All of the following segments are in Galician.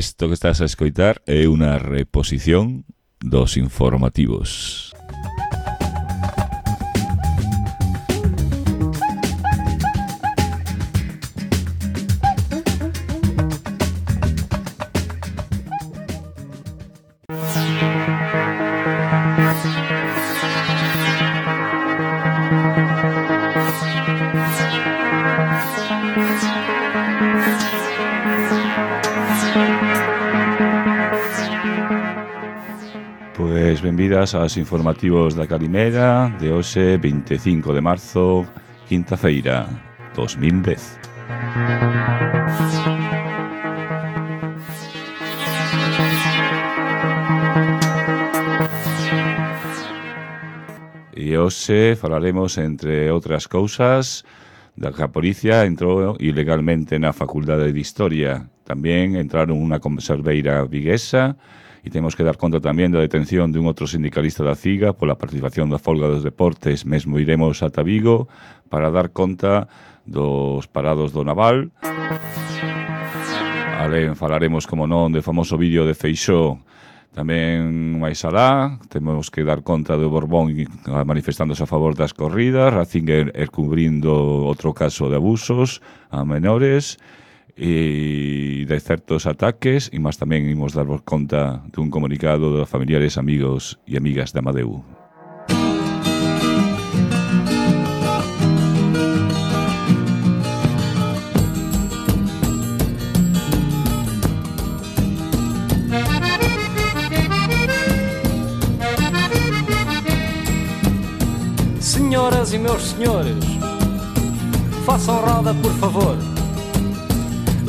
Isto que estás a escoitar é unha reposición dos informativos. Pois benvidas aos informativos da Calimera de hoxe 25 de marzo, quinta-feira, 2010. E hoxe falaremos, entre outras cousas, da que a policía entrou ilegalmente na Facultade de Historia. Tamén entraron unha conserveira viguesa e temos que dar conta tamén da detención dun outro sindicalista da CIGA pola participación da folga dos deportes. Mesmo iremos ata Vigo para dar conta dos parados do Naval. Alén falaremos, como non, do famoso vídeo de Feixóo. Tamén máis alá, temos que dar conta do Borbón manifestándose a favor das corridas, Ratzinger cubrindo outro caso de abusos a menores e de certos ataques, e máis tamén imos darvos conta dun comunicado dos familiares, amigos e amigas de Amadeu. Senhoras e meus senhores, façam roda, por favor.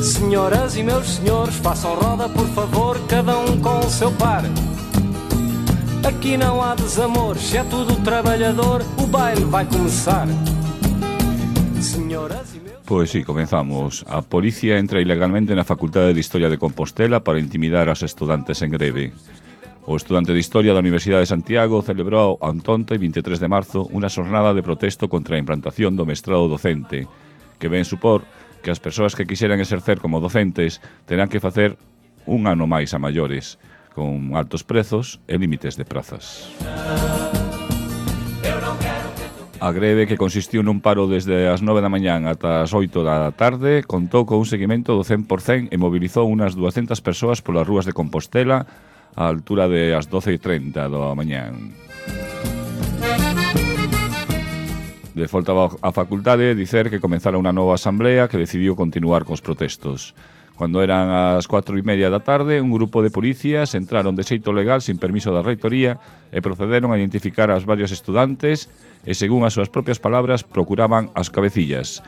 Senhoras e meus senhores, façam roda, por favor, cada um com o seu par. Aqui não há desamores, é tudo trabalhador, o baile vai começar. Senhoras e meus... Pois sí, comenzamos. A policía entra ilegalmente na Facultade de Historia de Compostela para intimidar aos estudantes en greve. O estudante de Historia da Universidade de Santiago celebrou onte, 23 de marzo, unha xornada de protesto contra a implantación do mestrado docente, que ven supor que as persoas que quixeran exercer como docentes terán que facer un ano máis a maiores, con altos prezos e límites de prazas. A greve, que consistiu nun paro desde as 9 da mañán ata as 8 da tarde, contou con un seguimento do 100% e mobilizou unas 200 persoas polas rúas de Compostela á altura de as 12:30 da mañán. De volta á facultade, dicer que comezara unha nova asamblea que decidiu continuar cos protestos. Cando eran as 4:30 da tarde, un grupo de policías entraron de xeito legal sin permiso da reitoría e procederon a identificar aos varios estudantes e, según as súas propias palabras, procuraban as cabecillas.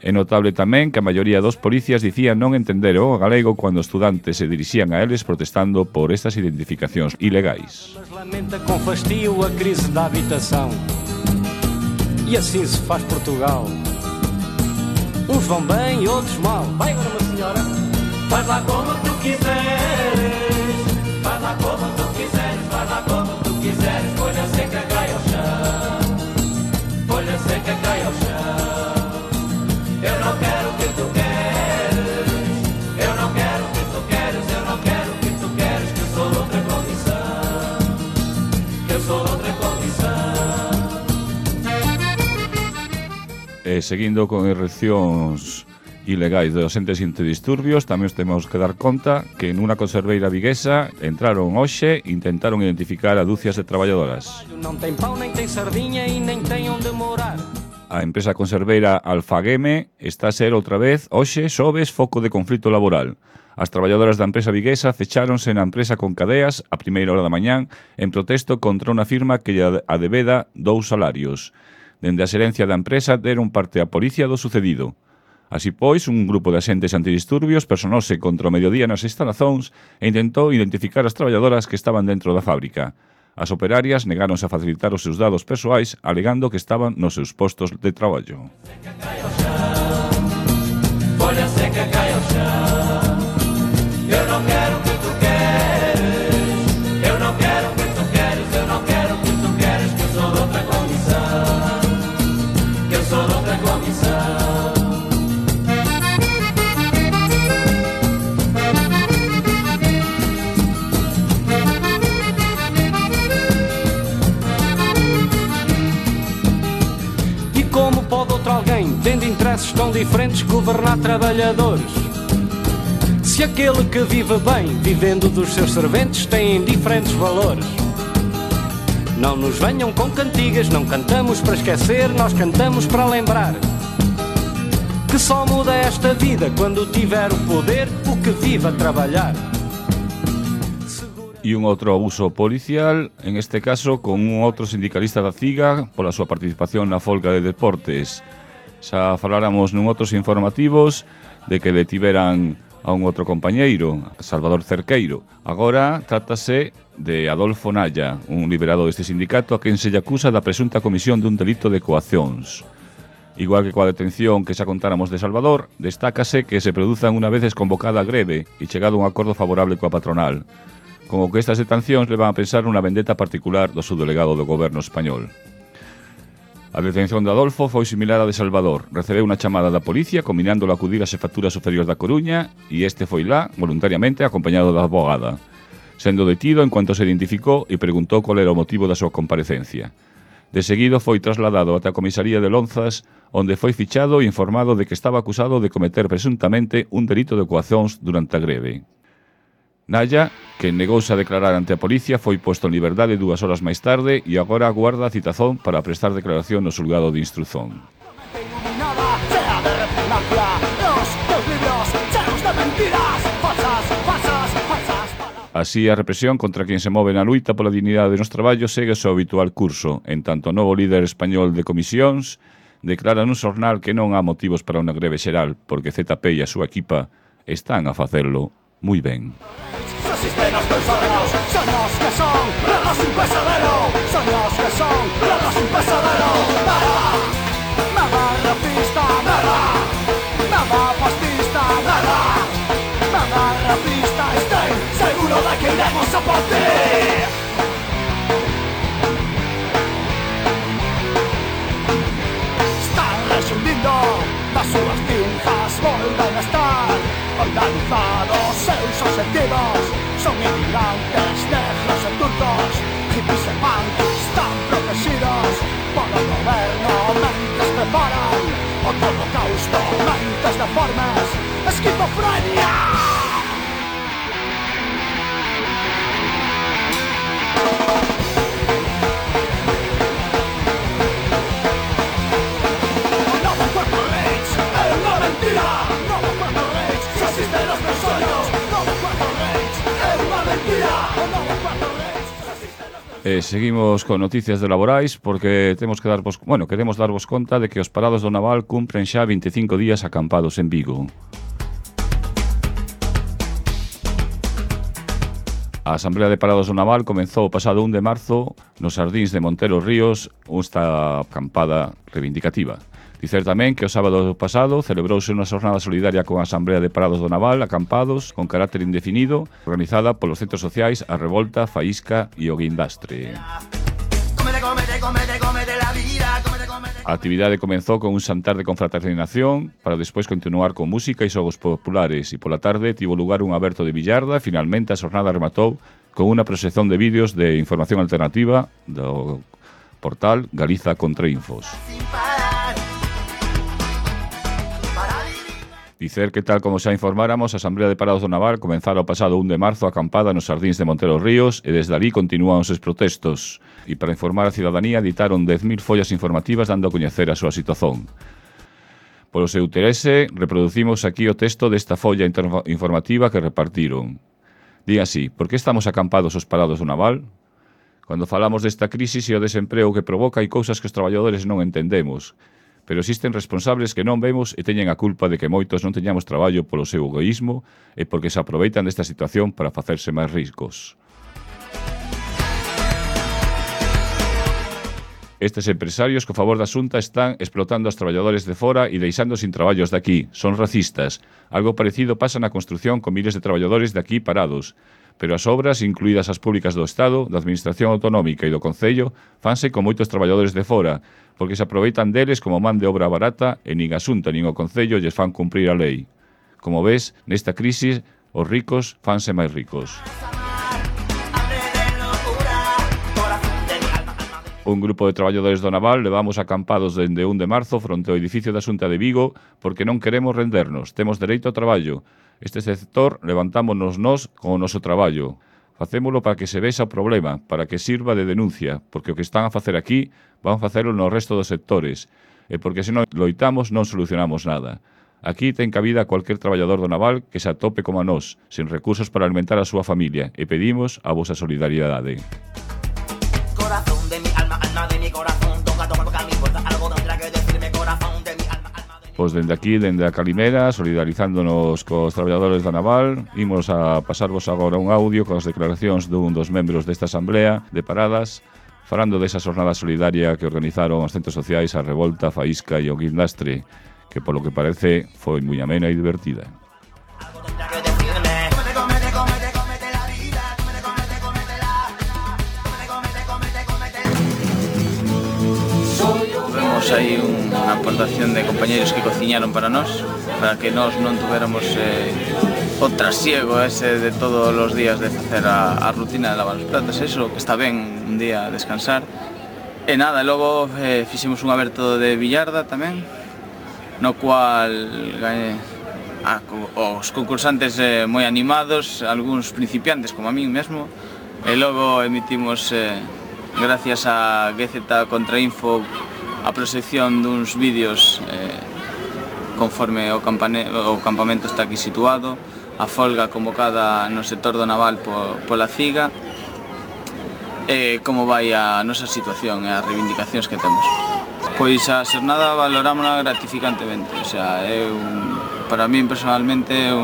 É notable tamén que a maioría dos policías dicían non entender o galego cando os estudantes se dirixían a eles protestando por estas identificacións ilegais. Mas lamenta com fastio a crise da habitação. E assim se faz Portugal. Uns vão bem e outros mal. Vai agora, uma senhora. Faz lá como tu quiseres. Faz lá como tu quiseres. Faz lá como tu quiseres. Folha seca cai ao chão. Folha seca cai ao chão. Eu não quero o que tu queres. Eu não quero o que tu queres. Eu não quero o que tu queres. Que eu sou de outra condição. Que eu sou de outra condição. E seguindo con ereccións ilegais de docentes antidisturbios, tamén temos que dar conta que nunha conserveira viguesa entraron hoxe e intentaron identificar a dúcias de traballadoras. Non ten pau, nem ten sardiña e nem ten onde morar. A empresa conserveira Alfageme está a ser outra vez hoxe xoves foco de conflito laboral. As traballadoras da empresa viguesa fecháronse na empresa con cadeas a primeira hora da mañán en protesto contra unha firma que lle adebeda 2 salarios. Dende a xerencia da empresa deron parte á policía do sucedido. Así pois, un grupo de axentes antidisturbios personouse contra o mediodía nas instalacións e intentou identificar as traballadoras que estaban dentro da fábrica. As operarias negáronse a facilitar os seus dados persoais, alegando que estaban nos seus postos de traballo. Folha seca cai ao chão. Eu não quero o que tu queres. Eu não quero o que tu queres. Eu não quero o que tu queres. Que eu sou de outra condição. Que eu sou de outra condição. alguém, tendo interesses tão diferentes, governar trabalhadores? Se aquele que vive bem, vivendo dos seus serventes, tem diferentes valores. Não nos venham com cantigas, não cantamos para esquecer, nós cantamos para lembrar que só muda esta vida quando tiver o poder, o que vive a trabalhar. E un outro abuso policial, en este caso con un outro sindicalista da CIGA pola súa participación na folga de deportes. Xa faláramos nun outros informativos de que detiveran a un outro compañeiro, Salvador Cerqueiro. Agora trátase de Adolfo Naya, un liberado deste sindicato a quen se lle acusa da presunta comisión dun delito de coaccións. Igual que coa detención que xa contáramos de Salvador, destácase que se produzan unha vez convocada a greve e chegado a un acordo favorable coa patronal. Como que estas detencións levan a pensar nunha vendetta particular do subdelegado do goberno español. A detención de Adolfo foi similar á de Salvador. Recebeu unha chamada da policía combinándolo a acudir ás Xefaturas Superiores da Coruña e este foi lá, voluntariamente, acompañado da abogada. Sendo detido en cuanto se identificou e preguntou qual era o motivo da súa comparecencia. De seguido foi trasladado ata a comisaría de Lonzas, onde foi fichado e informado de que estaba acusado de cometer presuntamente un delito de coaccións durante a greve. Naya, que negouse a declarar ante a policía, foi posto en liberdade 2 horas máis tarde e agora aguarda a citazón para prestar declaración no xulgado de instrución. Así, a represión contra quen se move na luita pola dignidade nos traballos segue o seu habitual curso, en tanto o novo líder español de comisións declara nun xornal que non há motivos para unha greve xeral, porque ZP e a súa equipa están a facerlo moi ben. Soños que son, reglas sin pesadero. Soños que son, reglas sin pesadero. Nada racista, nada fascista, nada racista. Estoy seguro de que iremos a por ti. Están resumindo das súas tinjas, volven a estar organizados seus objetivos. Son inmigrantes, negros e turcos, hippies e punks están protegidos polo goberno mentes preparan outro holocausto, mentes deformes, esquizofrenia. Novo cuerpo rich, é unha mentira. Novo cuerpo rich, se existen os meus sueños. Novo cuerpo rich, é unha mentira. Novo cuerpo rich, se existen os meus... Seguimos con noticias de laborais porque queremos darvos conta de que os parados do Naval cumpren xa 25 días acampados en Vigo. A Asamblea de Parados do Naval comezou o pasado 1 de marzo nos Xardíns de Montero Ríos esta acampada reivindicativa. Dicer tamén que o sábado pasado celebrouse unha xornada solidaria con a Asamblea de Parados do Naval acampados con carácter indefinido organizada polos centros sociais A Revolta, Faísca e o Guindastre. A actividade comenzou con un xantar de confraternización para despois continuar con música e xogos populares e pola tarde tivo lugar un aberto de billarda e finalmente a xornada rematou con unha proxección de vídeos de información alternativa do portal Galiza Contrainfos. Dicer que tal como xa informáramos, a Asamblea de Parados do Naval comenzara o pasado 1 de marzo a acampada nos Xardíns de Montero Ríos e desde ali continúan os protestos. E para informar a cidadanía editaron 10.000 follas informativas dando a coñecer a súa situación. Polo seu interese, reproducimos aquí o texto desta folla informativa que repartiron. Di así: por que estamos acampados os parados do Naval? Cando falamos desta crisis e o desemprego que provoca hai cousas que os traballadores non entendemos. Pero existen responsables que non vemos e teñen a culpa de que moitos non teñamos traballo polo seu egoísmo e porque se aproveitan desta situación para facerse máis ricos. Estes empresarios, co favor da Xunta, están explotando aos traballadores de fora e deixando sin traballos de aquí. Son racistas. Algo parecido pasa na construción con miles de traballadores de aquí parados. Pero as obras, incluídas as públicas do Estado, da Administración Autonómica e do Concello, fanse con moitos traballadores de fora, porque se aproveitan deles como man de obra barata e nin a Xunta nin o Concello lles fan cumprir a lei. Como ves, nesta crisis, os ricos fanse máis ricos. Un grupo de traballadores do naval levamos acampados dende 1 de marzo fronte ao edificio da Xunta de Vigo porque non queremos rendernos, temos dereito ao traballo. Este sector levantámonos nós con o noso traballo. Facémolo para que se vexa o problema, para que sirva de denuncia, porque o que están a facer aquí van a facelo no resto dos sectores, e porque se non loitamos non solucionamos nada. Aquí ten cabida cualquier traballador do naval que se atope como a nós, sen recursos para alimentar a súa familia, e pedimos a vosa solidariedade. Corazón de mi alma, alma de mi corazón, toca a mi puerta, algo tendrá que decirme, corazón de mi alma, alma de mi... Pois dende aquí, dende a Calimera, solidarizándonos cos traballadores da naval, imos a pasarvos agora un audio con as declaracións dun dos membros desta asamblea de Paradas, falando desa xornada solidaria que organizaron os centros sociais a Revolta, Faísca e o Guindastre, que polo que parece foi moi amena e divertida. Algo tendrá que decirme. Comete la vida, Vemos aí unha aportación de compañeros que cociñaron para nós, para que nós non tuviéramos o trasiego ese de todos os días de facer a rutina de lavar os platos, eso, que está ben un día descansar. E nada, logo fixemos un aberto de billarda tamén, no cual os concursantes moi animados, algúns principiantes como a min mesmo, e logo emitimos, gracias a GZ Contrainfo, a proxección duns vídeos conforme o campamento está aquí situado, a folga convocada no sector do naval pola CIGA, e como vai a nosa situación e as reivindicacións que temos. Pois a xornada valorámola gratificantemente, o sea, para min personalmente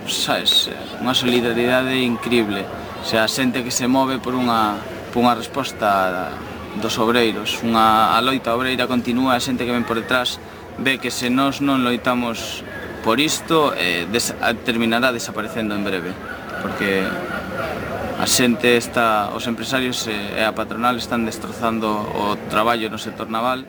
sabes, unha solidaridade increíble, o sea, a xente que se move por unha resposta dos obreiros, a loita obreira continúa, a xente que ven por detrás ve que se nós non loitamos por isto, terminará desaparecendo en breve, porque a xente os empresarios e a patronal están destrozando o traballo no sector naval.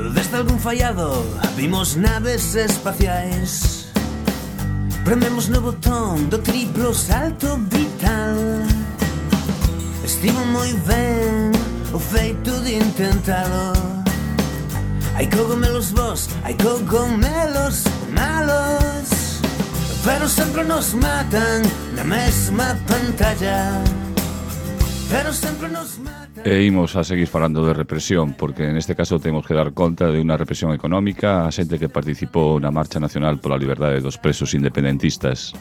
Desde algún fallado vimos naves espaciais, prememos no botón do triplo salto vital. Estivo moi ben o feito de intentalo. Hai cogomelos bos, hai cogomelos malos, pero sempre nos matan na mesma pantalla. Pero sempre nos matan. E imos a seguir falando de represión, porque neste caso temos que dar conta de unha represión económica a xente que participou na Marcha Nacional pola Liberdade dos Presos Independentistas.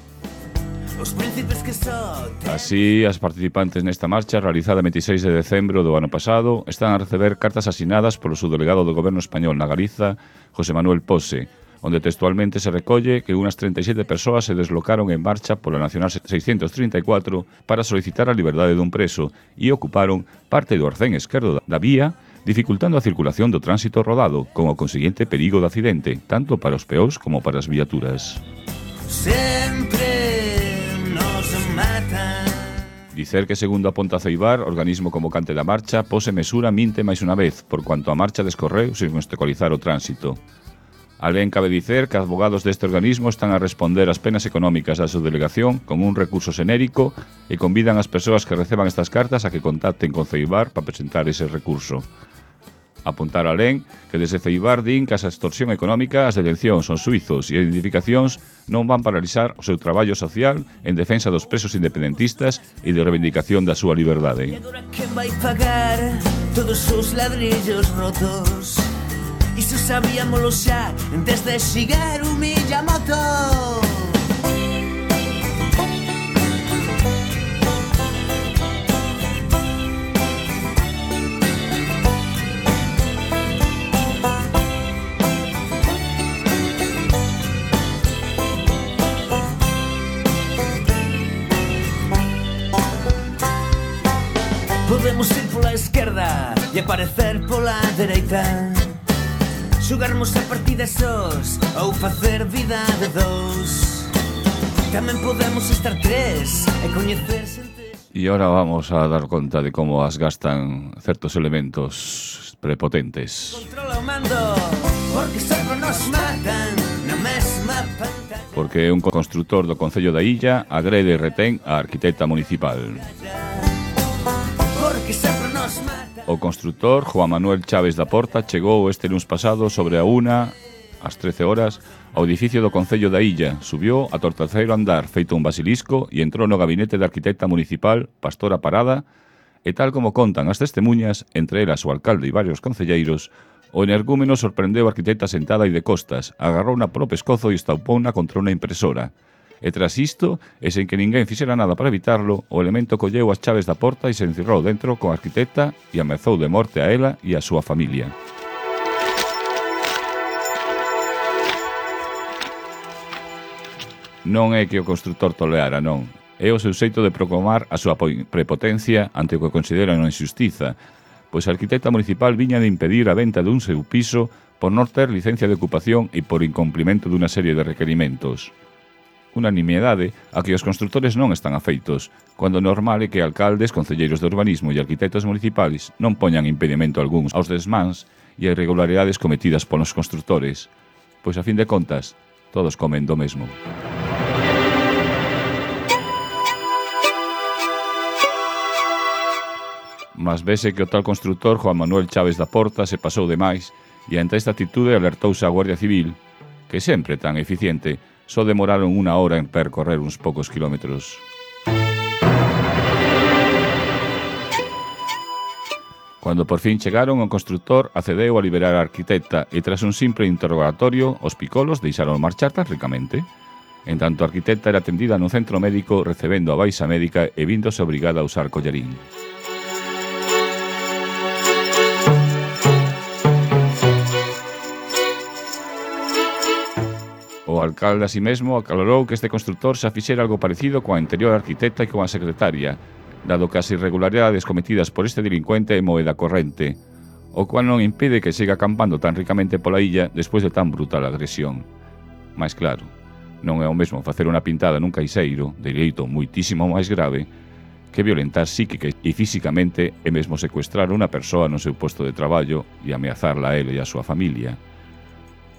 Así, as participantes nesta marcha, realizada 26 de decembro do ano pasado, están a receber cartas asinadas polo subdelegado do Goberno español na Galiza, José Manuel Pose, onde textualmente se recolle que unas 37 persoas se deslocaron en marcha pola Nacional 634 para solicitar a liberdade dun preso e ocuparon parte do arcén esquerdo da vía, dificultando a circulación do tránsito rodado, con o consiguiente perigo de accidente, tanto para os peóns como para as viaturas. Sempre nos matan. Dicer que, segundo aponta Ceibar, organismo convocante da marcha, Pose mesura minte máis unha vez, por cuanto a marcha descorreu sen obstaculizar o tránsito. Alén cabe dicer que advogados deste organismo están a responder ás penas económicas da subdelegación con un recurso xenérico e convidan as persoas que receban estas cartas a que contacten con Ceibar para presentar ese recurso. Apuntar alén que desde Ceibar din que a extorsión económica, as detencións, os suizos e as identificacións non van paralizar o seu traballo social en defensa dos presos independentistas e de reivindicación da súa liberdade. Que vai pagar todos os ladrillos rotos. Iso sabíamolo xa desde Shigeru Miyamoto. Podemos ir pola esquerda e aparecer pola dereita. Xogarmos a partida sós ou facer vida de dous. Tamén podemos estar tres e coñecerse entre... E ahora vamos a dar conta de como as gastan certos elementos prepotentes. Controla o mando, porque sempre nos matan na mesma pantalla. Porque un construtor do Concello da Illa agrede e retén a arquitecta municipal. Porque sempre nos matan. O construtor Juan Manuel Chaves da Porta chegou este luns pasado sobre a 1, ás 13 horas, ao edificio do Concello da Illa, subiu ata o terceiro andar feito un basilisco e entrou no gabinete da arquitecta municipal, Pastora Parada, e tal como contan as testemunhas, entre elas o alcalde e varios concelleiros, o energúmeno sorprendeu a arquitecta sentada e de costas, agarrouna polo pescozo e estaupouna contra unha impresora. E tras isto, e sen que ninguén fixera nada para evitarlo, o elemento colleu as chaves da porta e se encerrou dentro con a arquitecta e amezou de morte a ela e a súa familia. Non é que o construtor toleara, non. É o seu xeito de proclamar a súa prepotencia ante o que considera unha injustiza, pois a arquitecta municipal viña de impedir a venta dun seu piso por non ter licencia de ocupación e por incumprimento dunha serie de requerimentos. Unha nimiedade a que os construtores non están afeitos, cando normal é que alcaldes, concelleiros de urbanismo e arquitectos municipais non poñan impedimento algúns aos desmáns e a irregularidades cometidas polos construtores, pois a fin de contas, todos comen do mesmo. Mas vese que o tal construtor Juan Manuel Chaves da Porta se pasou de máis e ante esta atitude alertouse a Guardia Civil, que sempre tan eficiente, só demoraron 1 hora en percorrer uns poucos kilómetros. Cando por fin chegaron, o construtor accedeu a liberar a arquitecta e tras un simple interrogatorio, os picolos deixaron marchar tan ricamente. En tanto, a arquitecta era atendida no centro médico recebendo a baixa médica e víndose obrigada a usar collarín. O alcalde así mesmo aclarou que este construtor xa fixera algo parecido coa anterior arquitecta e coa secretaria, dado que as irregularidades cometidas por este delincuente é moeda corrente, o cual non impide que siga acampando tan ricamente pola illa despois de tan brutal agresión. Mais claro, non é o mesmo facer unha pintada nun caixeiro, de dereito muitísimo máis grave, que violentar psíquica e físicamente e mesmo secuestrar unha persoa no seu posto de traballo e ameazarla a ele e a súa familia.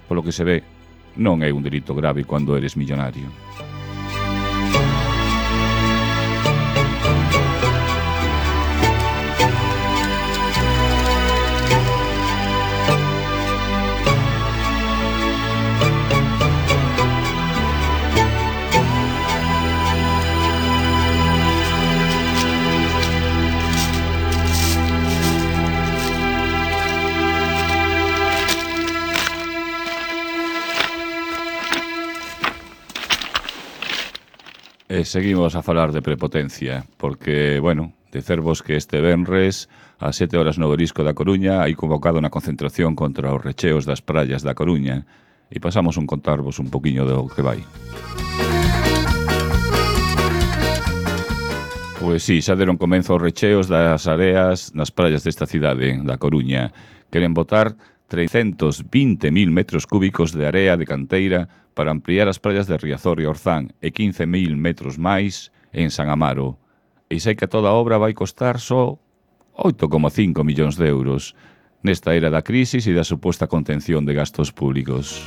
Polo que se ve, non é un delito grave cando eres millonario. E seguimos a falar de prepotencia, porque, bueno, dicervos que este venres, ás 7 horas no Obelisco da Coruña, hai convocado unha concentración contra os recheos das praias da Coruña, e pasamos a contarvos un poquinho do que vai. Pois sí, xa deron comenzo os recheos das areas nas praias desta cidade, da Coruña. Queren botar 320.000 metros cúbicos de area de canteira para ampliar as praias de Riazor e Orzán e 15.000 metros máis en San Amaro. E sei que toda a obra vai costar só 8,5 millóns de euros nesta era da crisis e da suposta contención de gastos públicos.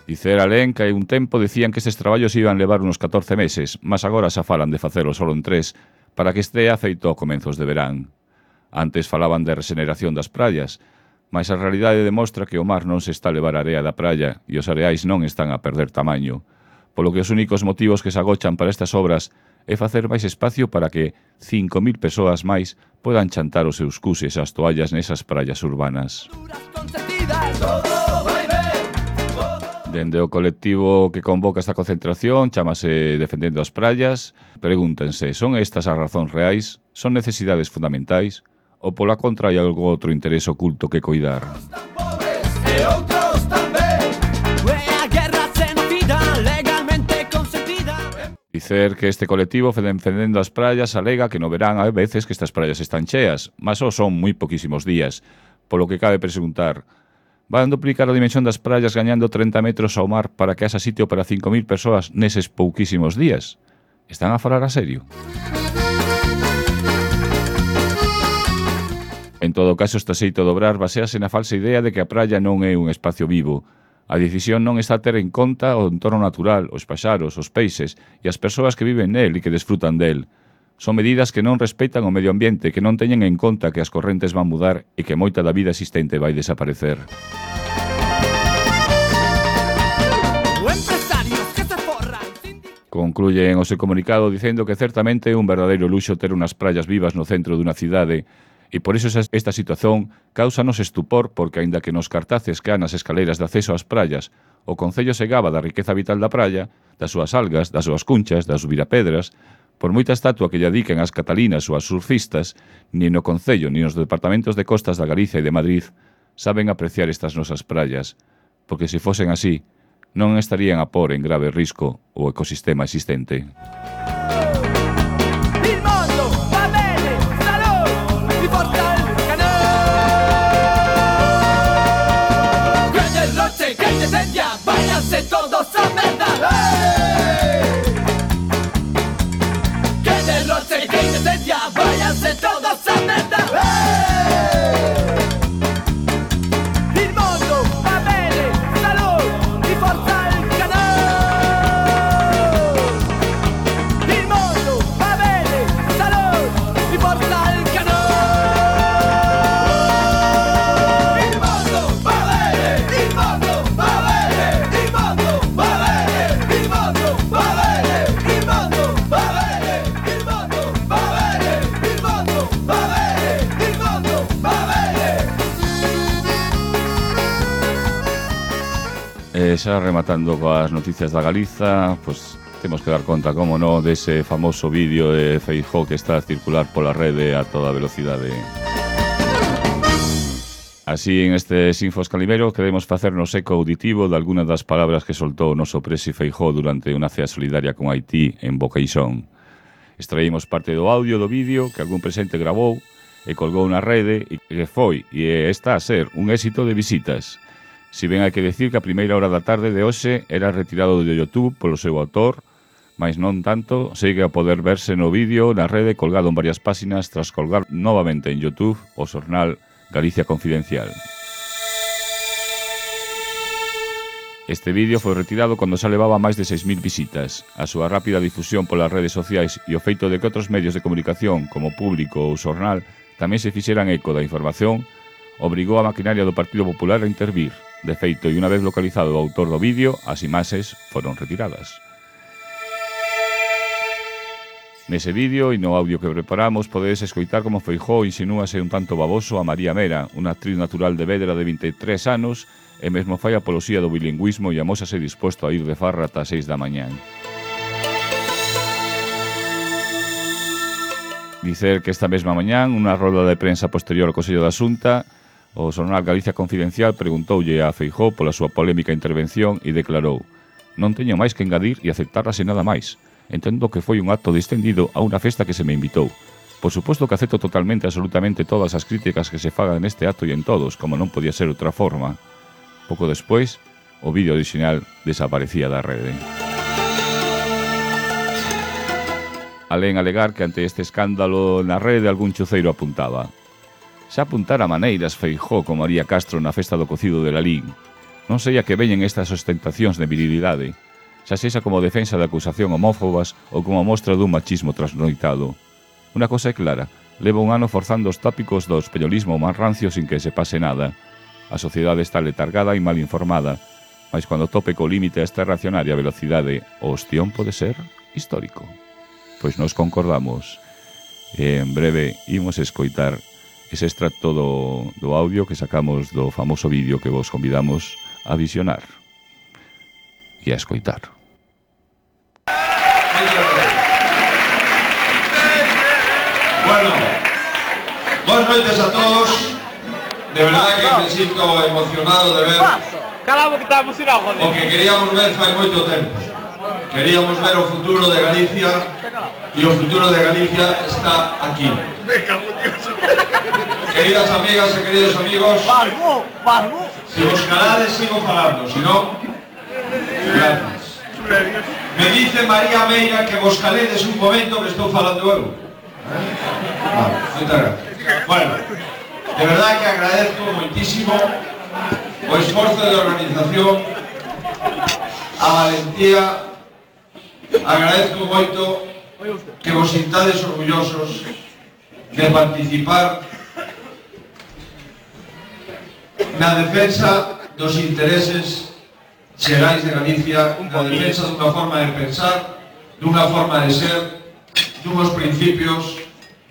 Dicer alén que hai un tempo decían que estes traballos iban levar unos 14 meses, mas agora xa falan de facelo solo en 3 para que estea feito a comenzos de verán. Antes falaban de regeneración das praias, mas a realidade demostra que o mar non se está a levar a area da praia e os areais non están a perder tamaño, polo que os únicos motivos que se agochan para estas obras é facer máis espacio para que 5.000 persoas máis podan chantar os seus cuses e as toallas nesas praias urbanas. Dende o colectivo que convoca esta concentración, chámase Defendendo as Praias, pregúntense, son estas as razóns reais? Son necesidades fundamentais? Ou pola contra hai algo outro interés oculto que coidar? Dicer que este colectivo defendendo as praias alega que no verán a veces que estas praias están cheas, mas só son moi poquísimos días, polo que cabe preguntar, van duplicar a dimensión das praias gañando 30 metros ao mar para que haxa sitio para 5.000 persoas neses pouquísimos días? Están a falar a serio? En todo caso, este xeito de obrar basease na falsa idea de que a praia non é un espacio vivo. A decisión non está a ter en conta o entorno natural, os paxaros, os peixes e as persoas que viven nel e que desfrutan del. Son medidas que non respeitan o medio ambiente, que non teñen en conta que as correntes van mudar e que moita da vida existente vai desaparecer. Concluyen o seu comunicado dicendo que certamente é un verdadeiro luxo ter unhas praias vivas no centro dunha cidade e por iso esta situación causanos estupor porque, aínda que nos cartaces que há nas escaleiras de acceso ás praias, o Concello se gaba da riqueza vital da praia, das súas algas, das súas cunchas, das virapedras, por moita estatua que lle adiquen ás catalinas ou ás surfistas, nin no Concello nin nos departamentos de costas da Galicia e de Madrid saben apreciar estas nosas praias, porque se fosen así, non estarían a por en grave risco o ecosistema existente. Váyanse todos a merda. Que derroche, que indecencia. Váyanse todos a merda. Il mondo va bene, salud y forza al canal. Il mondo va bene, salud y forza al canal. Il mondo va bene, il mondo va bene. Xa rematando coas noticias da Galiza, pois temos que dar conta, como no, dese famoso vídeo de Feijóo que está a circular pola rede a toda velocidade. Así, en este Sinfos Calimero, queremos facernos eco auditivo de algunas das palabras que soltou o noso presi Feijóo durante unha cea solidaria con Haití en Boqueixón. Extraímos parte do audio do vídeo que algún presente gravou e colgou na rede e que foi e está a ser un éxito de visitas. Si ben hai que decir que a primeira hora da tarde de hoxe era retirado do YouTube polo seu autor, mas non tanto, segue a poder verse no vídeo na rede colgado en varias páxinas tras colgar novamente en YouTube o xornal Galicia Confidencial. Este vídeo foi retirado cando xa levaba máis de 6.000 visitas. A súa rápida difusión polas redes sociais e o feito de que outros medios de comunicación, como Público ou Xornal, tamén se fixeran eco da información, obrigou a maquinaria do Partido Popular a intervir. De feito, e unha vez localizado o autor do vídeo, as imaxes foron retiradas. Nese vídeo e no audio que preparamos podedes escoitar como Feijóo insinúase un tanto baboso a María Mera, unha actriz natural de Vedra de 23 anos, e mesmo fai apoloxía do bilingüismo e amósase disposto a ir de farra ata 6 da mañán. Dicer que esta mesma mañán, unha roda de prensa posterior ao Consello da Xunta, o xornal Galicia Confidencial preguntoulle a Feijóo pola súa polémica intervención e declarou: non teño máis que engadir e aceptarla sen nada máis. Entendo que foi un acto distendido a unha festa que se me invitou. Por suposto que acepto totalmente, absolutamente todas as críticas que se fagan neste acto e en todos, como non podía ser outra forma. Pouco despois, o vídeo original desaparecía da rede. Alén alegar que ante este escándalo na rede algún chuceiro apuntaba: xa apuntara maneiras Feijóo con María Castro na festa do cocido de Lalín. Non sei a que veñen estas ostentacións de virilidade, xa sexa como defensa de acusación homófobas ou como mostra dun machismo trasnoitado. Unha cosa é clara, leva un ano forzando os tópicos do españolismo máis rancio sin que se pase nada. A sociedade está letargada e mal informada, mas cando tope co límite esta reaccionaria velocidade, o ostión pode ser histórico. Pois nos concordamos. E en breve imos escoitar ese extracto do audio que sacamos do famoso vídeo que vos convidamos a visionar e a escoitar. Bueno, buenas noches a todos. De verdad que me siento emocionado de ver Cala boca, está emocionado, joder. o que queríamos ver fai moito tempo. queríamos ver o futuro de Galicia e o futuro de Galicia está aquí. Queridas amigas e queridos amigos, se vos calades sigo falando, se non, gracias. Me dice María Meira que vos caledes un momento que estou falando eu. Vale, moitas gracias. Bueno, de verdade que agradezco moitísimo o esforzo de organización, a valentía, agradezco moito que vos sintades orgullosos de participar na defensa dos intereses xerais de Galicia, na defensa dunha forma de pensar, dunha forma de ser, dunhos principios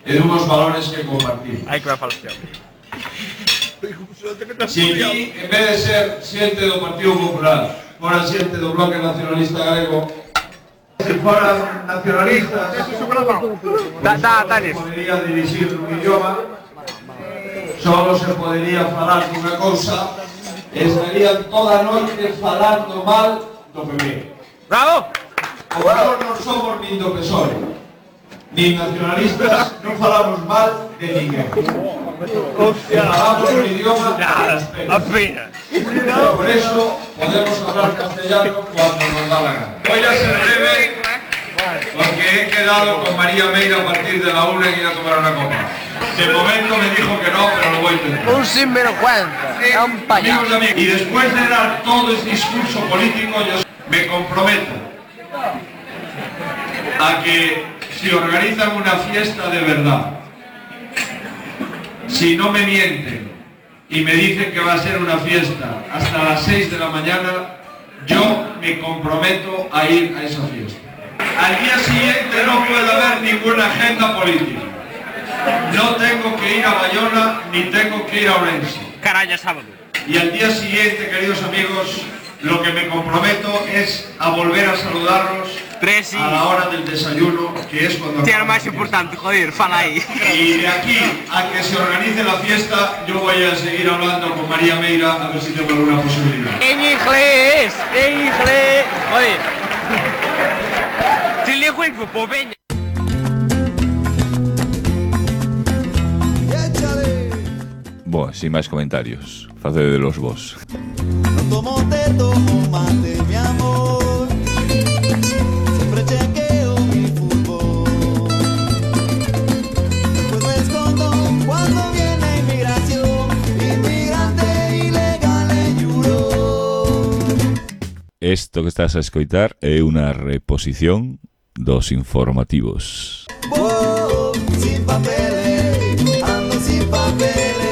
e dunhos valores que compartimos. Se aquí, en vez de ser xente do Partido Popular, fora xente do Bloque Nacionalista Galego, se foran nacionalistas, podería dirixir un idioma, só se podería falar dunha cousa, e estarían toda a noite falando mal do PP. Bravo! Como nós non somos nin do PSOE, nin nacionalistas, non falamos mal de ninguén. E falamos un idioma apenas. Por eso podemos hablar castellano cuando nos da la gana. Voy a ser breve porque he quedado con María Meira a partir de la 1 y ir a tomar una copa. De momento me dijo que no, pero lo voy a intentar. Un sinvergüenza, un payaso. Y después de dar todo este discurso político, yo me comprometo a que si organizan una fiesta de verdad, si no me mienten y me dicen que va a ser una fiesta hasta las 6 de la mañana, yo me comprometo a ir a esa fiesta. Al día siguiente no puede haber ninguna agenda política. No tengo que ir a Bayona ni tengo que ir a Orense. Caralla, sábado. Y al día siguiente, queridos amigos, lo que me comprometo es a volver a saludarlos a la hora del desayuno, que es cuando... Tiene más importante, joder, fala ahí. Y de aquí a que se organice la fiesta, yo voy a seguir hablando con María Meira a ver si tengo alguna posibilidad. En inglés, joder. Si le juego, pues venga. Boa, sin máis comentarios, facedelos vos. No tomo mate, mi amor. Siempre chequeo mi fútbol. Pues me escondo cuando viene inmigración. Inmigrante ilegal en Europe. Isto que estás a escoitar é unha reposición dos informativos. Oh, sin papeles, ando sin papeles.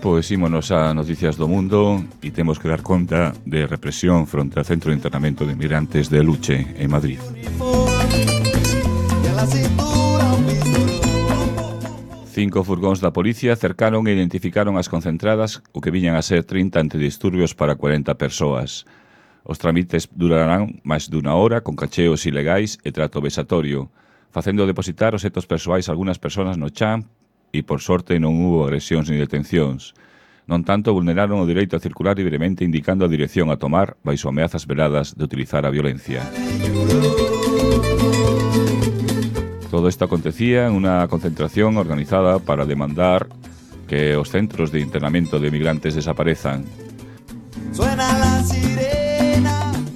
Pois ímonos a Noticias do Mundo e temos que dar conta de represión fronte ao Centro de Internamento de Migrantes de Luche, en Madrid. 5 furgóns da policía cercaron e identificaron as concentradas o que viñan a ser 30 antidisturbios para 40 persoas. Os trámites durarán máis dunha hora con cacheos ilegais e trato vexatorio, facendo depositar os obxectos persoais algunhas persoas no chan e, por sorte, non hubo agresións ni detencións. Non tanto, vulneraron o direito a circular libremente indicando a dirección a tomar baixo ameazas veladas de utilizar a violencia. Todo isto acontecía en unha concentración organizada para demandar que os centros de internamento de migrantes desaparezan.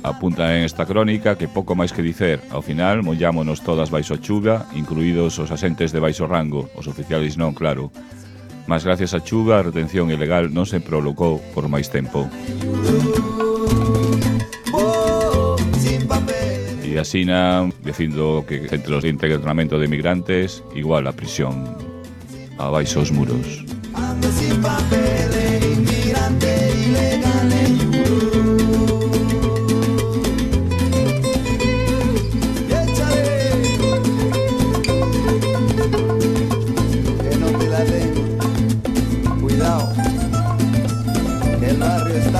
Apunta en esta crónica que pouco máis que dicer. Ao final, mollámonos todas baixo chuva, incluídos os asentes de baixo rango, os oficiais non, claro. Mas gracias a chuva, a retención ilegal non se prolongou por máis tempo. E asina, dicindo que centros de internamento de migrantes igual a prisión, abaixo os muros. Ando sin papeles, inmigrante ilegal en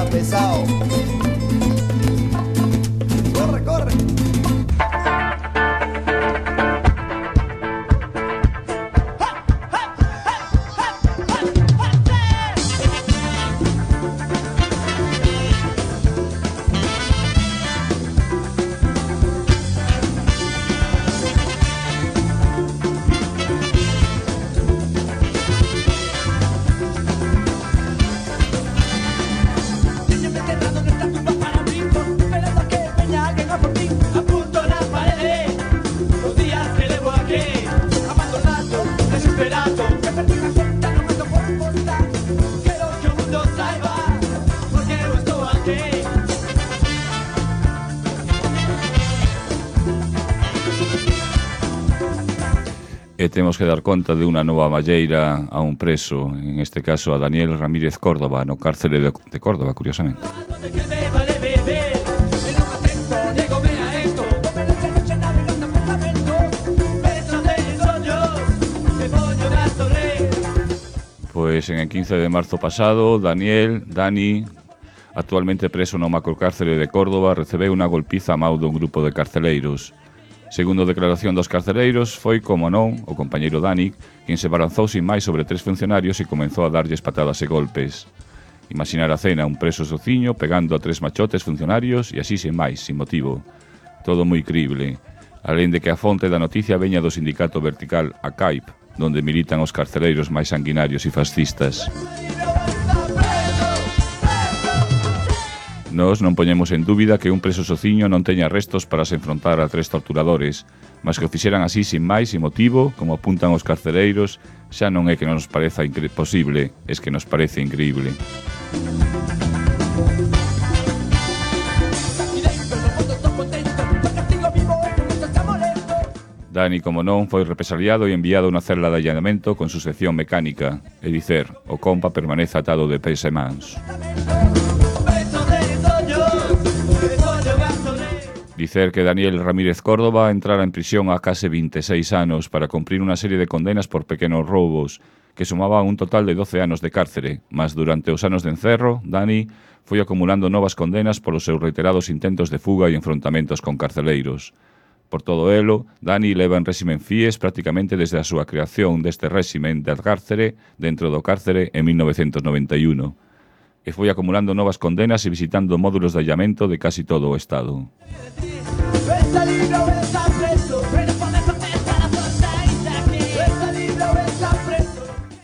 pesado. temos que dar conta de unha nova malleira a un preso, en este caso a Daniel Ramírez Córdoba, no cárcere de Córdoba, curiosamente. Pois en el 15 de marzo pasado, Dani, actualmente preso no macrocárcere de Córdoba, recebeu unha golpiza a mau dun grupo de carceleiros. Segundo a declaración dos carceleiros, foi, como non, o compañeiro Dani quen se balanzou sin máis sobre 3 funcionarios e comenzou a darlles patadas e golpes. Imaginar a cena, un preso sociño pegando a 3 machotes funcionarios e así sin máis, sin motivo. Todo moi crible. Alén de que a fonte da noticia veña do sindicato vertical ACAIP, donde militan os carceleiros máis sanguinarios e fascistas. Nós non poñemos en dúbida que un preso sociño non teña restos para se enfrontar a 3 torturadores, mas que o fixeran así sin máis, sin motivo, como apuntan os carceleiros, xa non é que non nos pareza posible, es que nos parece increíble. Dani, como non, foi represaliado e enviado a unha celda de allanamento con sucesión mecánica, é dicer, o compa permanece atado de pés e mans. Dicer que Daniel Ramírez Córdoba entrara en prisión a case 26 anos para cumprir unha serie de condenas por pequenos roubos, que sumaban un total de 12 anos de cárcere, mas durante os anos de encerro, Dani foi acumulando novas condenas polos seus reiterados intentos de fuga e enfrontamentos con carceleiros. Por todo elo, Dani leva en réximen FIES prácticamente desde a súa creación deste réximen de cárcere dentro do cárcere en 1991. E foi acumulando novas condenas e visitando módulos de allamento de casi todo o Estado.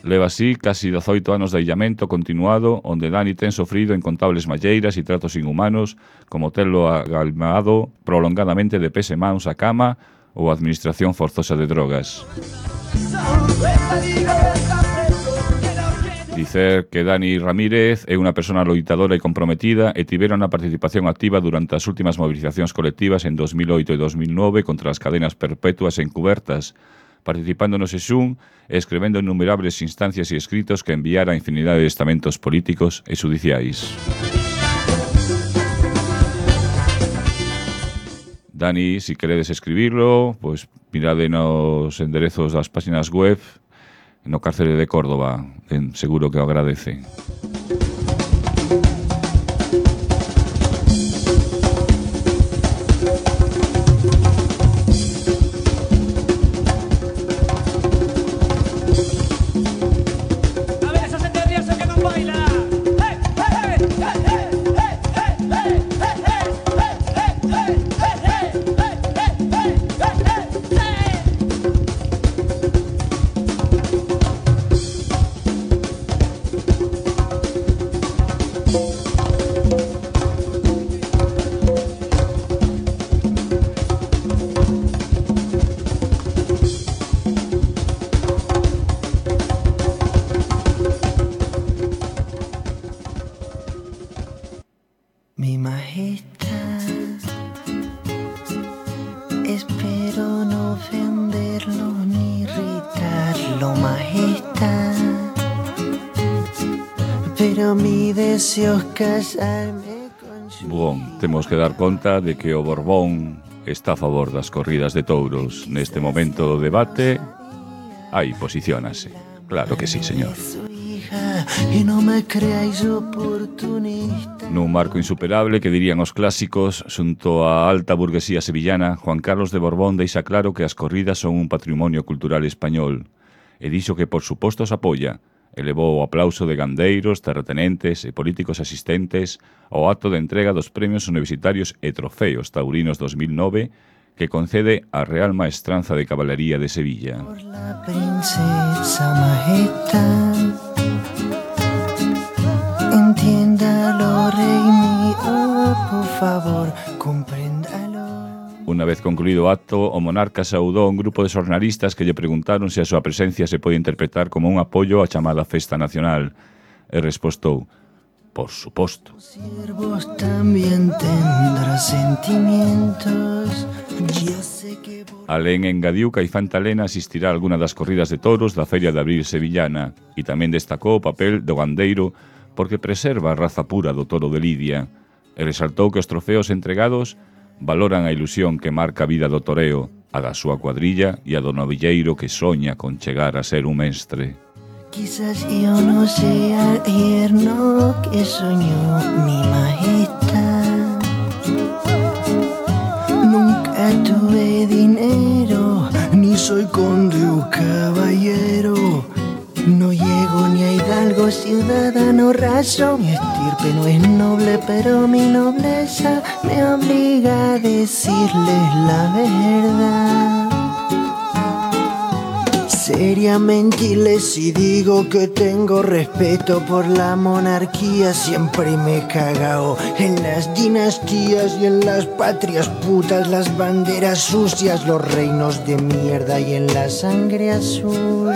Leva así casi 18 anos de illamento continuado, onde Dani ten sofrido incontables malleiras e tratos inhumanos, como telo agalmado prolongadamente de pés e mans a cama ou a administración forzosa de drogas. Dicer que Dani Ramírez é unha persona loitadora e comprometida e tivera unha participación activa durante as últimas movilizacións colectivas en 2008 e 2009 contra as cadenas perpetuas e encubertas, participando no Sesún e escribendo en innumerables instancias e escritos que enviara a infinidade de estamentos políticos e judiciais. Dani, si queredes escribirlo, pois mirade nos enderezos das páxinas web no cárcere de Córdoba, seguro que o agradece. Mi majestad, espero no ofenderlo ni irritarlo, majestad, pero mi deseo es casarme con su... Bon, temos que dar conta de que o Borbón está a favor das corridas de touros. Neste momento do debate, aí posiciónase. Claro que sí, señor. Y no me creáis oportunista. Nun marco insuperable que dirían os clásicos, xunto á alta burguesía sevillana, Juan Carlos de Borbón deixa claro que as corridas son un patrimonio cultural español e dixo que por suposto os apoia. Elevou o aplauso de gandeiros, terratenentes e políticos asistentes ao acto de entrega dos premios universitarios e trofeos taurinos 2009 que concede a Real Maestranza de Caballería de Sevilla. Por la princesa majestad, entiéndalo, rey mío, por favor, compréndalo. Unha vez concluído o acto, o monarca saudou a un grupo de xornalistas que lle preguntaron se a súa presencia se pode interpretar como un apoio á chamada Festa Nacional. E respostou: por suposto. Siervos también tendrá sentimientos. Yo sé que... Alén engadiu que a infanta Elena asistirá a alguna das corridas de touros da Feria de Abril sevillana e tamén destacou o papel do gandeiro porque preserva a raza pura do toro de Lidia e resaltou que os trofeos entregados valoran a ilusión que marca a vida do toreo, a da súa cuadrilla e a do novilleiro que soña con chegar a ser un mestre. Quizás yo no sea el yerno que soñó mi majestad. Nunca tuve dinero, ni soy conde o caballero. No llego ni a hidalgo, ciudadano raso. Mi estirpe no es noble, pero mi nobleza me obliga a decirles la verdad. Seriamente les digo que tengo respeto por la monarquía. Siempre me he cagao en las dinastías y en las patrias putas, las banderas sucias, los reinos de mierda y en la sangre azul.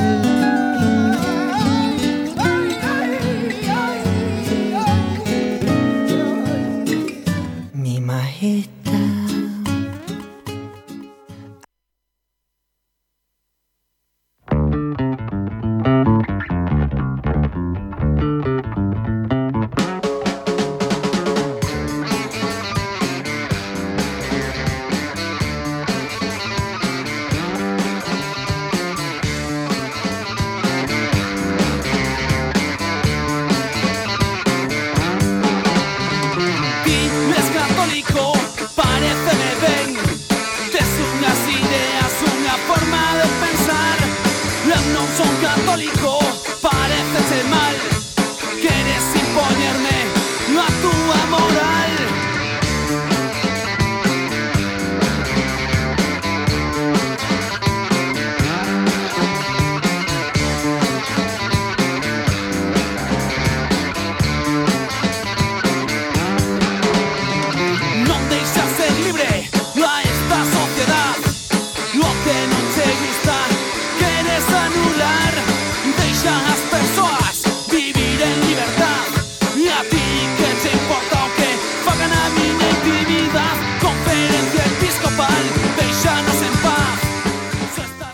Mi majestad.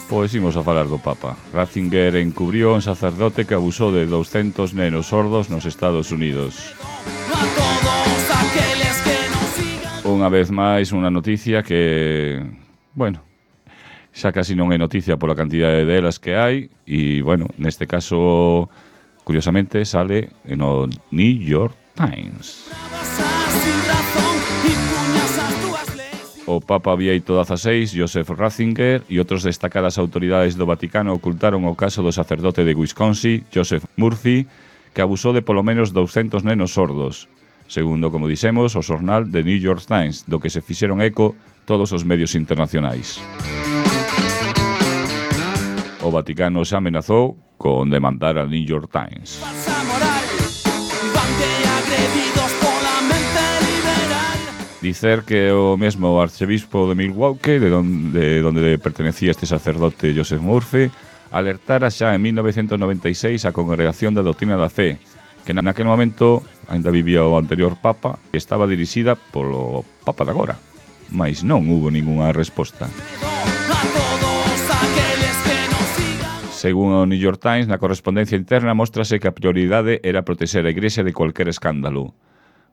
Pois imos a falar do Papa. Ratzinger encubriu un sacerdote que abusou de 200 nenos sordos nos Estados Unidos. Unha vez máis, unha noticia que, bueno, xa casi non é noticia pola cantidade delas que hai e, bueno, neste caso, curiosamente, sale no New York Times. O Papa Bieito XVI, Joseph Ratzinger e outros destacadas autoridades do Vaticano ocultaron o caso do sacerdote de Wisconsin, Joseph Murphy, que abusou de polo menos 200 nenos sordos, segundo, como dixemos, o xornal The New York Times, do que se fixeron eco todos os medios internacionais. O Vaticano xa amenazou con demandar a New York Times. Dicer que o mesmo arcebispo de Milwaukee, de donde pertenecía este sacerdote Joseph Murphy, alertara xa en 1996 a Congregación da Doutrina da Fe, que naquele momento ainda vivía o anterior Papa e estaba dirixida polo Papa de agora, mas non hubo ningunha resposta. Según o New York Times, na correspondencia interna mostrase que a prioridade era protexer a Igrexa de cualquier escándalo.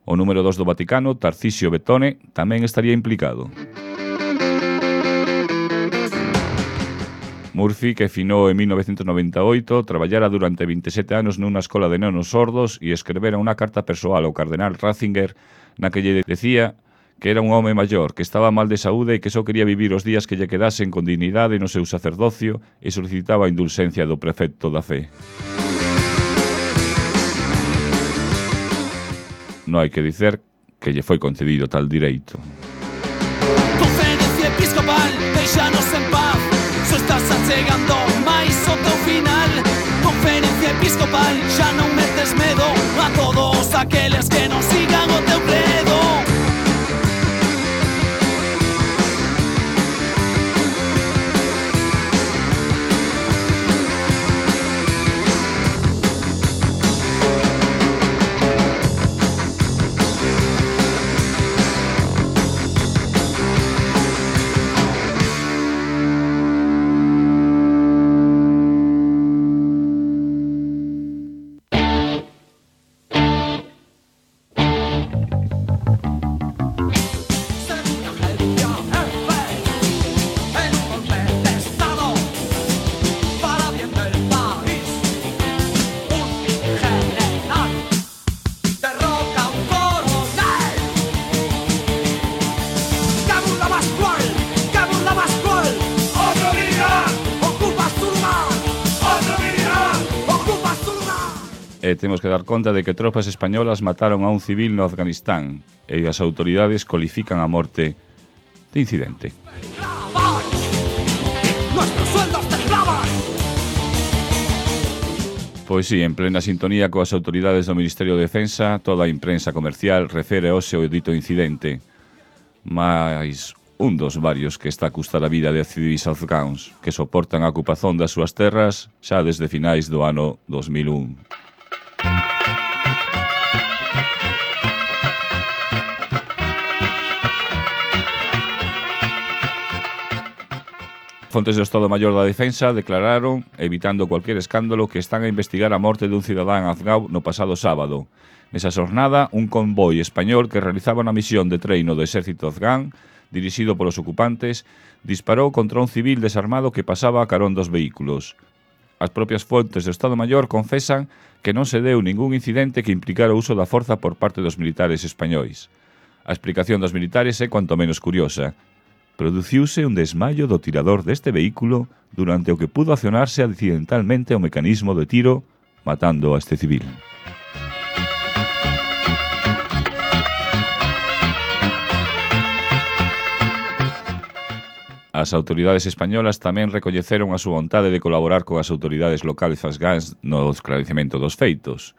O número 2 do Vaticano, Tarcisio Betone, tamén estaría implicado. Murphy, que finou en 1998, traballara durante 27 anos nunha escola de nenos sordos e escrevera unha carta persoal ao cardenal Ratzinger na que lle decía que era un home maior, que estaba mal de saúde e que só quería vivir os días que lle quedasen con dignidade no seu sacerdocio e solicitaba a indulxencia do prefecto da fe. Non hai que dicer que lle foi concedido tal direito. Conferencia episcopal, deixanos en paz. Só estás achegando máis o teu final. Conferencia episcopal, xa non metes medo a todos aqueles que non sigan o teu credo. E temos que dar conta de que tropas españolas mataron a un civil no Afganistán e as autoridades cualifican a morte de incidente. Nuestros sueldos te clavan. Pois sí, en plena sintonía coas autoridades do Ministerio de Defensa, toda a imprensa comercial refere hoxe o dito incidente, máis un dos varios que está a custar a vida de civis afgáns que soportan a ocupación das súas terras xa desde finais do ano 2001. Fontes do Estado Maior da Defensa declararon, evitando cualquier escándalo, que están a investigar a morte dun cidadán afgán no pasado sábado. Nesa xornada, un convoi español que realizaba unha misión de treino do exército afgán, dirixido polos ocupantes, disparou contra un civil desarmado que pasaba a carón dos vehículos. As propias fontes do Estado Maior confesan que non se deu ningún incidente que implicara o uso da forza por parte dos militares españois. A explicación dos militares é cuanto menos curiosa. Produciuse un desmayo do tirador deste vehículo durante o que pudo accionarse accidentalmente o mecanismo de tiro, matando a este civil. As autoridades españolas tamén recoñeceron a súa vontade de colaborar con as autoridades locales afgás no esclarecemento dos feitos.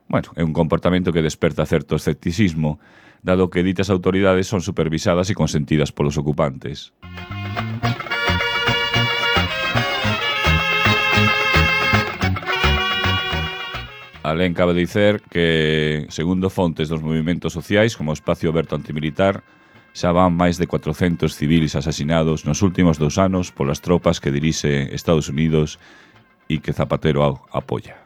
Bueno, é un comportamento que desperta certo escepticismo, dado que ditas autoridades son supervisadas e consentidas polos ocupantes. Alén cabe dicer que, segundo fontes dos movimentos sociais como o Espacio Aberto Antimilitar, xa van máis de 400 civiles asasinados nos últimos 2 anos polas tropas que dirixe Estados Unidos e que Zapatero apoia.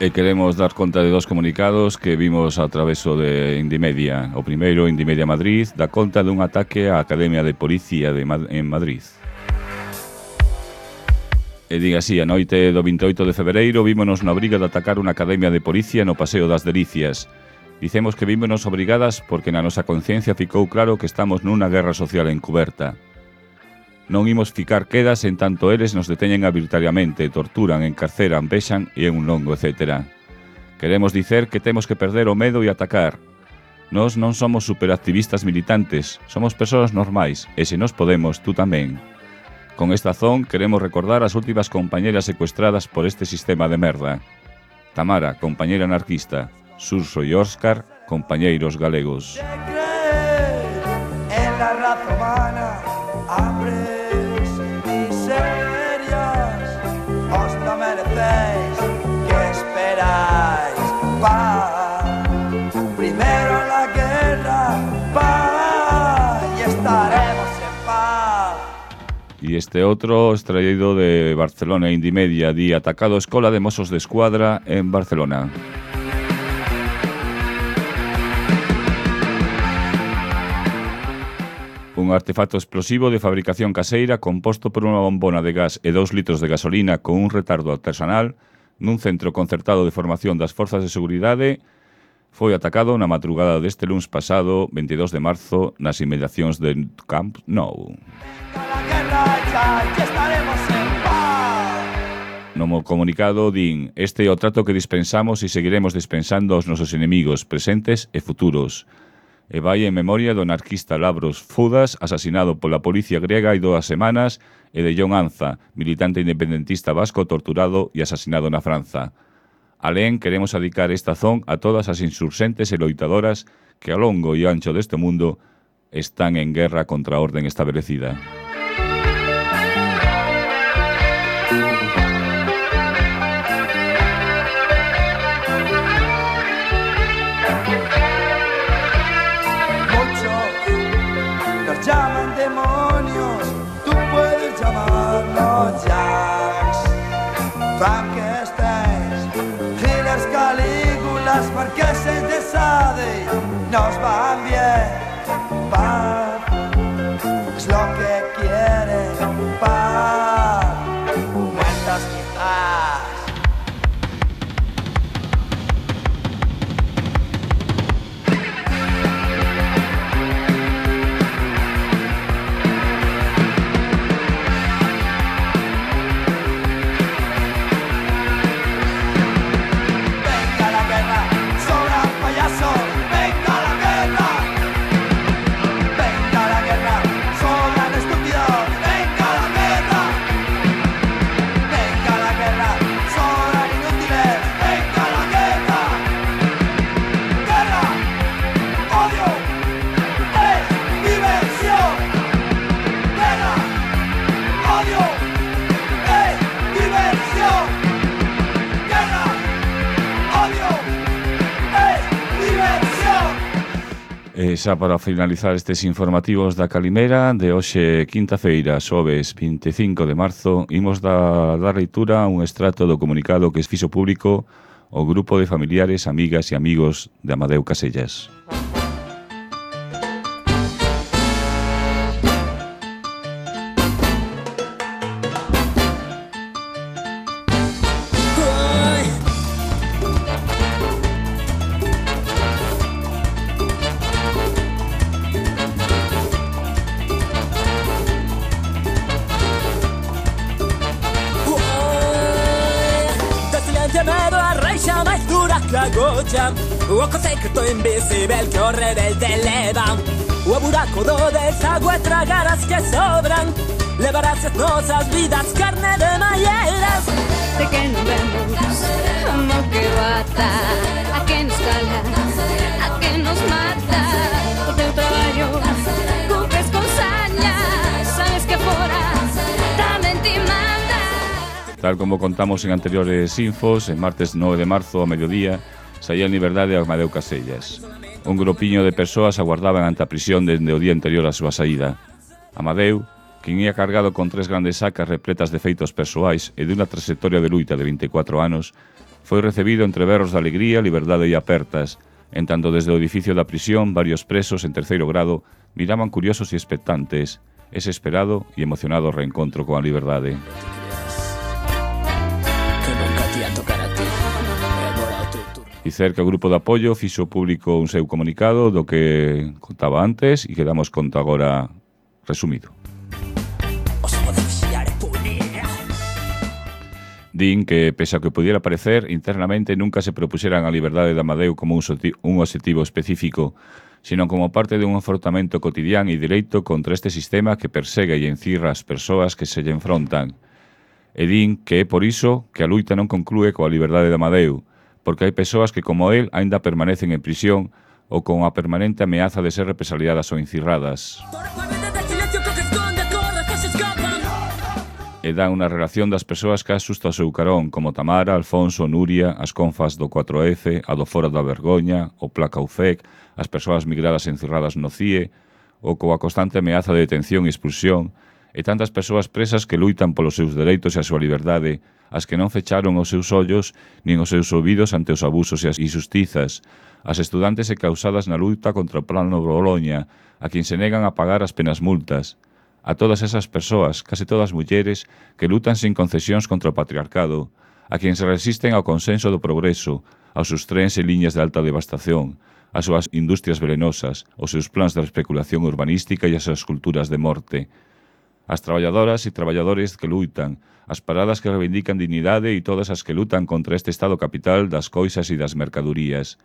E queremos dar conta de 2 comunicados que vimos a traveso de Indimedia. O primeiro, Indimedia Madrid, dá conta dun ataque á Academia de Policía en Madrid. E diga así, a noite do 28 de febreiro vímonos na obriga de atacar unha academia de policía no Paseo das Delicias. Dicemos que vímonos obrigadas porque na nosa conciencia ficou claro que estamos nunha guerra social encuberta. Non imos ficar quedas en tanto eles nos deteñen arbitrariamente, torturan, encarceran, vexan e un longo etcétera. Queremos dicer que temos que perder o medo e atacar. Nós non somos superactivistas militantes, somos persoas normais, e se nos podemos, tú tamén. Con esta azón queremos recordar as últimas compañeras secuestradas por este sistema de merda. Tamara, compañeira anarquista. Surso e Óscar, compañeiros galegos. En la raza humana, hambres, miserias, os no merecéis este outro extraído de Barcelona Indimedia, di atacado a Escola de Mossos de Escuadra en Barcelona. Un artefacto explosivo de fabricación caseira composto por unha bombona de gas e 2 litros de gasolina con un retardo artesanal nun centro concertado de formación das Forzas de Seguridade foi atacado na madrugada deste luns pasado, 22 de marzo, nas inmediacións de Camp Nou. No comunicado din: este é o trato que dispensamos e seguiremos dispensando aos nosos enemigos presentes e futuros. E vai en memoria do anarquista Lavros Fudas, asasinado pola policía griega hai 2 semanas, e de John Anza, militante independentista vasco torturado e asasinado na Franza. Alén, queremos dedicar esta zón a todas as insurxentes e loitadoras que ao longo e ancho deste mundo están en guerra contra a orden establecida. Llaman demonios, tú puedes llamarnos Jax, Frankenstein, Hitlers, Calígulas, Marqueses de Sade, nos van bien, paz, es lo que quieren, paz, muertas quizás. Xa para finalizar estes informativos da Calimera de hoxe quinta-feira, xoves 25 de marzo, imos dar leitura a un extracto do comunicado que fixo público o grupo de familiares, amigas e amigos de Amadeu Casellas. O secreto invisible que o rebelde leva, o buraco do desagüe tragar as que sobran, levarás as nosas vidas carne de malleiras. De que non vemos como que bata, a que nos cala, a que nos mata. O teu traballo cumpres con saña, sabes que fora tamén te manda. Tal como contamos en anteriores infos, en martes 9 de marzo a mediodía saía en liberdade a Amadeu Casellas. Un grupiño de persoas aguardaban ante a prisión dende o día anterior á súa saída. Amadeu, quen ia cargado con 3 grandes sacas repletas de feitos persoais e dunha trayectoria de luita de 24 anos, foi recibido entre berros de alegría, liberdade e apertas, en tanto desde o edificio da prisión varios presos en 3º grado miraban curiosos e expectantes ese esperado e emocionado reencontro coa liberdade. Dicer que o grupo de apoio fixo público un seu comunicado do que contaba antes e que damos conta agora resumido. Din que, pese a que pudiera parecer, internamente nunca se propuxeran a liberdade de Amadeu como un obxectivo específico, sino como parte de un afrontamento cotidián e direito contra este sistema que persegue e encirra as persoas que se lle enfrontan. E din que é por iso que a luita non conclúe coa liberdade de Amadeu, porque hai persoas que, como él, aínda permanecen en prisión ou con a permanente ameaza de ser represaliadas ou encirradas. E dan unha relación das persoas que asusta o seu carón, como Tamara, Alfonso, Nuria, as confas do 4F, a do Foro da Vergoña, o Placa UFEC, as persoas migradas e encerradas no CIE, ou coa constante ameaza de detención e expulsión, e tantas persoas presas que luitan polos seus dereitos e a súa liberdade, as que non fecharon os seus ollos nin os seus ouvidos ante os abusos e as injustizas, as estudantes e causadas na luta contra o plano Boloña, a quen se negan a pagar as penas multas, a todas esas persoas, case todas mulleres, que lutan sin concesións contra o patriarcado, a quen se resisten ao consenso do progreso, aos seus trens e liñas de alta devastación, as súas industrias velenosas, os seus plans de especulación urbanística e as súas culturas de morte, as traballadoras e traballadores que luitan, as paradas que reivindican dignidade e todas as que lutan contra este estado capital das coisas e das mercadorías.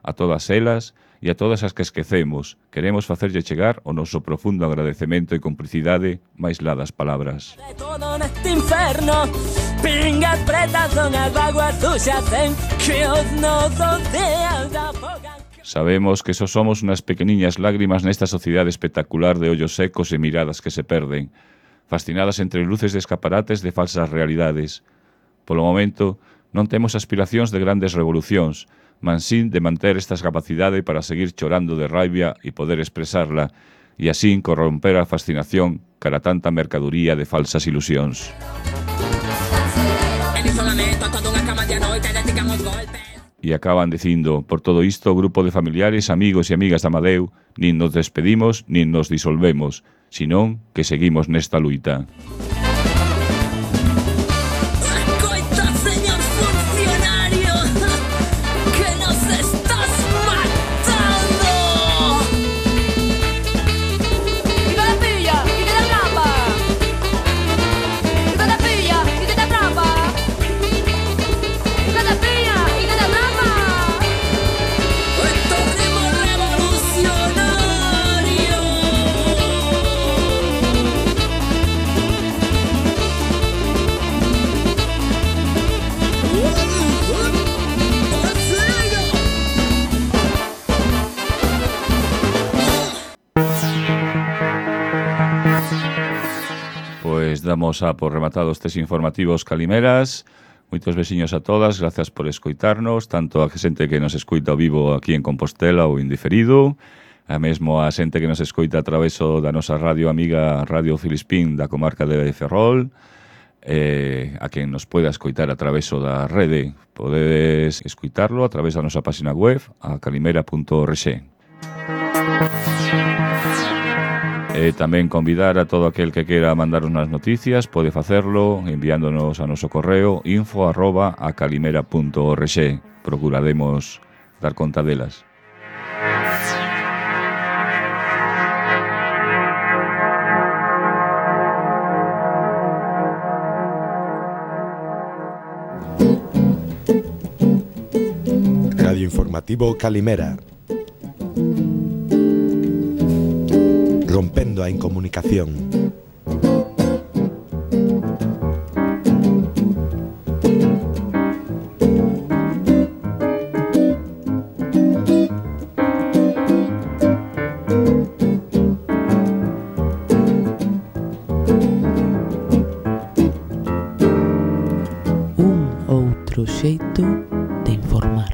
A todas elas e a todas as que esquecemos, queremos facerlle chegar o noso profundo agradecemento e complicidade máis lá das palabras. De todo neste inferno, pingas pretas son as vaguas suxas en que os nosos días afogan. Sabemos que só somos unhas pequeniñas lágrimas nesta sociedade espectacular de ollos secos e miradas que se perden, fascinadas entre luces de escaparates de falsas realidades. Polo momento, non temos aspiracións de grandes revolucións, mansín de manter esta capacidade para seguir chorando de raibia e poder expresarla, e así corromper a fascinación cara tanta mercaduría de falsas ilusións. E acaban dicindo, por todo isto, o grupo de familiares, amigos e amigas de Amadeu, nin nos despedimos, nin nos disolvemos, senón que seguimos nesta luita. Damos a por rematados estes informativos calimeras. Moitos veciños a todas, gracias por escoitarnos, tanto a xente que nos escoita ao vivo aquí en Compostela ou indiferido, a mesmo a xente que nos escoita a traveso da nosa radio amiga Radio Filispín da comarca de Ferrol, a quen nos poida escoitar a traveso da rede. Podedes escoitarlo a través da nosa página web, a calimera.org. E tamén convidar a todo aquel que quera mandarnos as noticias, pode facerlo enviándonos a noso correo info@acalimera.org. Procuraremos dar conta delas. Radio Informativo Calimera. Rompendo a incomunicación. Un outro xeito de informar.